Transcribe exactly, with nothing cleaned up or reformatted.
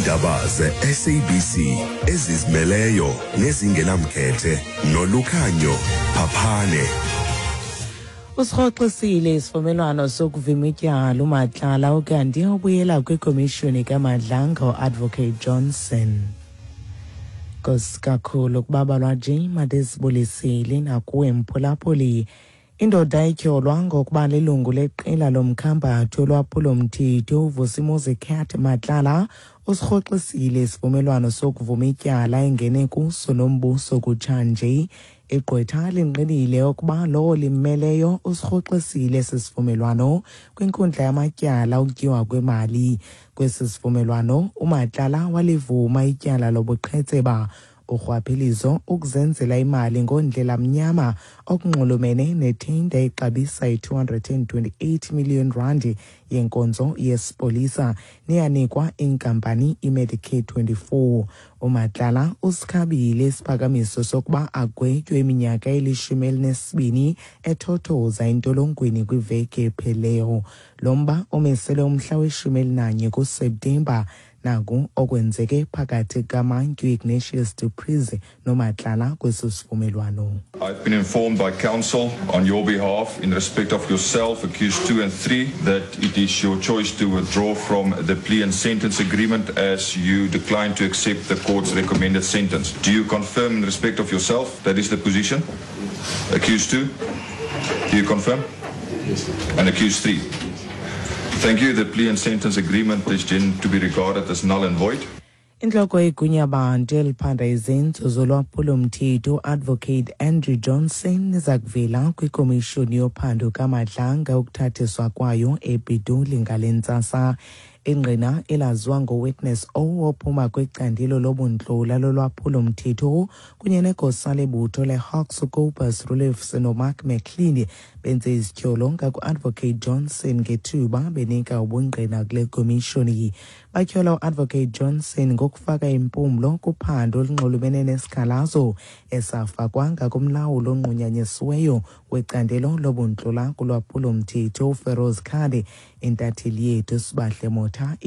Iindaba ze-S A B C ezizimeleyo nezingenamkhethe noLukhanyo Phaphane. Usirhoxisile isivumelwano sokuvima ityala uMatlala, ukanti ubuyela kwikomishoni kaMadlanga uAdvocate Johnson. Nkosi kakhulu kubabalwa J Madesibulisile nakuwe mphulaphuli. Indoda etyholwa ngokuba lilungu leqela lomkhambathi olwaphulomthetho uVusimuzi Cat Matlala usirhoxisile isivumelwano sokuvuma ityala engene kuso nombuso kutshanje. Igqwetha lingqinile ukuba lowo limmeleyo usirhoxisile esi sivumelwano kwinkundla yamatyala okutyiwa kwemali. Kwesi sivumelwano uMatlala walivuma ityala lobuqhetseba, urhwaphilizo, ukuzenzela imali ngondlela mnyama okunxulumene nethenda exabisa i-two hundred and twenty-eight million rand yenkonzo yesipolisa neyanikwa inkampani iMedicare twenty-four. UMatlala usikhabile isiphakamiso sokuba agwetywe iminyaka elishumi elinesibini ethothoza entolongweni kwiveki epheleyo. Lo mba umisele umhla weshumi elinanye kuSeptemba. Naku okwenzeke phakathi kaMantyi Ignatius du Preez noMatlala kweso sivumelwano. I've been informed by counsel on your behalf in respect of yourself, accused two and three, that it is your choice to withdraw from the plea and sentence agreement as you decline to accept the court's recommended sentence. Do you confirm in respect of yourself that is the position? Accused two? Do you confirm? Yes. And accused three? Thank you. The plea and sentence agreement is then to be regarded as null and void. Intloko yegunyabantu eliphanda izenzo zolwaphulomthetho Advocate Andrew Johnson iza kuvela kwikomishoni yophando kaMadlanga ukuthathiswa kwayo ePitoli ngale ntsasa. Ingqina elaziwa ngoWitness O ophuma kwicandelo lobuntlola lolwaphulomthetho kunye negosa lebutho leHawks uCobus Roelofse noMark McLean benze izityholo ngaku-Advocate Johnson ngethuba benika ubungqina kule komishoni. Batyhola uAdvocate Johnson ngokufaka impumlo kuphando olunxulumene nesikhalazo esafakwa ngakumlawuli onqunyanyisiweyo wecandelo lobuntlola kulwaphulomthetho uFeroz Khan. Intatheli yethu Sibahle Motha.